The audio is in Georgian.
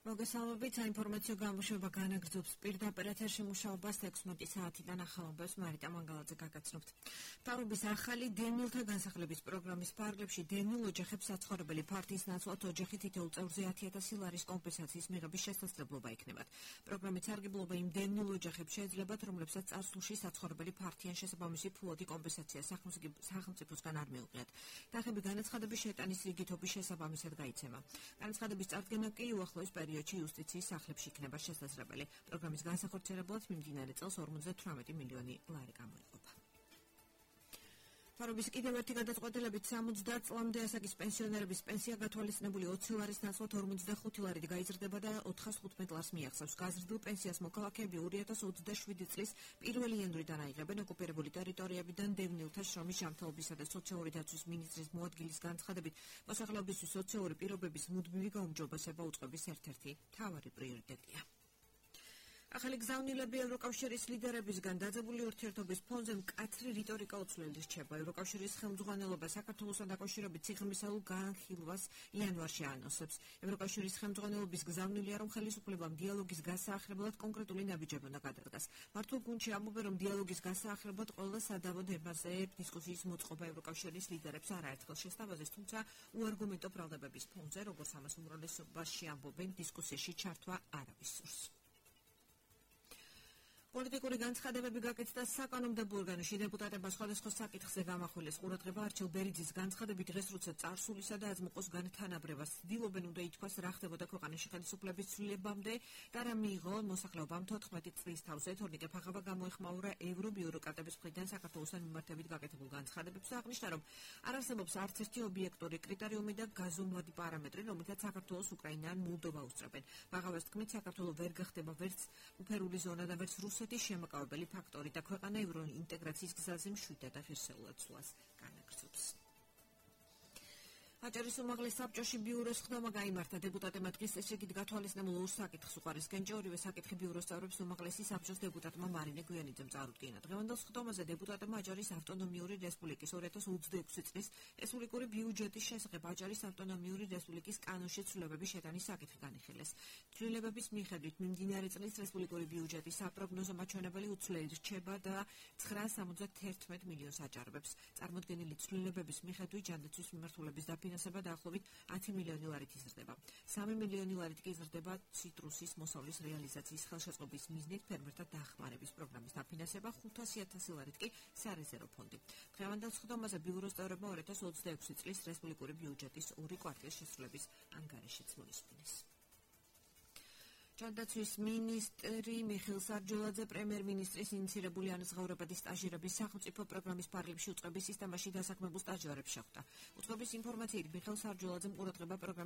მოგესალმებით, საინფორმაციო გამოშვება განაგრძობს პირდაპირ ეთერში მუშაობას 16 საათიდან ახალმბებს მარიტა მანგალაძე გაგაცნობთ. მთავრობის ახალი დევნილთა განსახლების პროგრამის ფარგლებში დევნილ ოჯახებს საცხოვრებელი ფართიის ნაცვლად ოჯახი თითოეულ წევრზე 10,000 ლარის კომპენსაციის მიღების შესაძლებლობა იქნებათ. პროგრამის სარგებლობა იმ დევნილ ოჯახებს შეეძლებათ, რომლებსაც წარსულში საცხოვრებელი ფართიან შესაბამისი ფულადი კომპენსაცია სახელმწიფოსგან არ მიუღიათ. თანხები განაცხადების შეტანის რიგითობის შესაბამისად გაიცემა. განაცხადების წარდგენა კი უახლოეს პერიოდში იუსტიციის სახლებში იქნება შესაძლებელი. პროგრამის განსახორციელებლად მიმდინარე წელს 58 მილიონი ლარი გამოიყოფა. მთავრობის კიდევ ერთი გადაწყვეტილებით 60 წლამდე ასაკის პენსიონერების პენსია გათვალისწინებული 20 ლარის ნაცვლად 45 ლარით გაიზრდება და 415 ლარს მიაღწევს. გაზრდილ პენსიას მოქალაქეები 2027 წლის 1 იანვრიდან აიღებენ. ოკუპირებული ტერიტორიებიდან დევნილთა შრომის ჯანმრთელობისა და სოციალური დაცვის მინისტრის მოადგილის განცხადებით, მოსახლეობისთვის სოციალური პირობების მუდმივი გაუმჯობესება უწყების ერთ-ერთი მთავარი პრიორიტეტია. ახალი გზავნილები ევროკავშირის ლიდერებისგან დაძაბული ურთიერთობის ფონზე მკაცრი რიტორიკა უცვლელი რჩება. ევროკავშირის ხელმძღვანელობა საქართველოსთან დაკავშირებით სიღრმისეულ განხილვას იანვარში ანონსებს. ევროკავშირის ხელმძღვანელობის გზავნილია, რომ ხელისუფლებამ დიალოგის გასაახლებლად კონკრეტული ნაბიჯები უნდა გადადგას. მართულ გუნდში ამბობენ, რომ დიალოგის გასაახლებლად ყველა სადავო თემაზე დისკუსიის მოწყობა ევროკავშირის ლიდერებს არაერთხელ შესთავაზეს, თუმცა უარგუმენტო ბრალდებების ფონზე, როგორც ამას უმრავლესობაში ამბობენ, დისკუსიაში ჩართვა არავის სურს. პოლიტიკური განცხადებები გაკეთდა საკანონმდებლო ორგანოში. დეპუტატებმა სხვადასხვა საკითხზე გამახვილეს ყურადღება. არჩილ ბერიძის განცხადებით, დღეს როცა წარსულისა და აზმოყოს განთანაბრებას ცდილობენ, უნდა ითქვას რა ხდებოდა ქვეყანაში ხელისუფლების ცვლილებამდე და რა მიიღო მოსახლეობამ 14 წლის თავზე. თორნიკე ფაღავა გამოეხმაურა ევრობიუროკრატების მხრიდან საქართველოსთან მიმართებით გაკეთებულ განცხადებებს და აღნიშნა, რომ არ არსებობს არც ერთი ობიექტური კრიტერიუმი და გაზომვადი პარამეტრი, რომელთაც საქართველოს უკრაინა ან მოლდოვა უსწრებენ. ფაღავას თქმით, საქართველო ვერ გახდება ვერც უფერული ზონა და ვერც რუსეთის შემოკავებელი ფაქტორი და ქვეყანა ევროინტეგრაციის გზაზე მშვიდად და ღირსეულად სვლას განაგრძობს. აჭარის უმაღლეს საბჭოში ბიუროს ხდომა გაიმართა. დეპუტატებმა დღის წესრიგით გათვალისწინებულ ორ საკითხს უყარეს კენჭი. ორივე საკითხი ბიუროს წევრებს უმაღლესი საბჭოს დეპუტატმა მარინე გვიანიძემ წარუდგინა. დღევანდელ ხდომაზე დეპუტატებმა აჭარის ავტონომიური რესპუბლიკის 2026 წლის რესპუბლიკური ბიუჯეტის შესახებ აჭარის ავტონომიური რესპუბლიკის კანონში ცვლილებების შეტანის საკითხი განიხილეს. ცვლილებების მიხედვით მიმდინარე წლის რესპუბლიკური ბიუჯეტის საპროგნოზო მაჩვენებელი უცვლელი რჩება და 971 მილიონს აჭარბებს. წარმოდგენილი ცვლილებების მიხედვით ჯანდაცვის მიმართულების დაფინანსება დაახლოებით 10 მილიონი ლარით იზრდება. 3 მილიონი ლარით კი იზრდება ციტრუსის მოსავლის რეალიზაციის ხელშეწყობის მიზნით ფერმერთა დახმარების პროგრამის დაფინანსება, 500,000 ლარით კი სარეზერვო ფონდი. დღევანდელ ხდომაზე ბიუროს წევრებმა 2026 წლის რესპუბლიკური ბიუჯეტის ორი კვარტალის შესრულების ანგარიშიც მოისმინეს. ჯანდაცვის მინისტრი მიხეილ სარჯოლაძე პრემიერ-მინისტრის ინიციირებული ანაზღაურებადი სტაჟირების სახელმწიფო პროგრამის ფარგლებში უწყების სისტემაში დასაქმებულ სტაჟიორებს შეხვდა. უწყების ინფორმაციით მიხეილ სარჯოლაძემ ყურადღება პროგრამის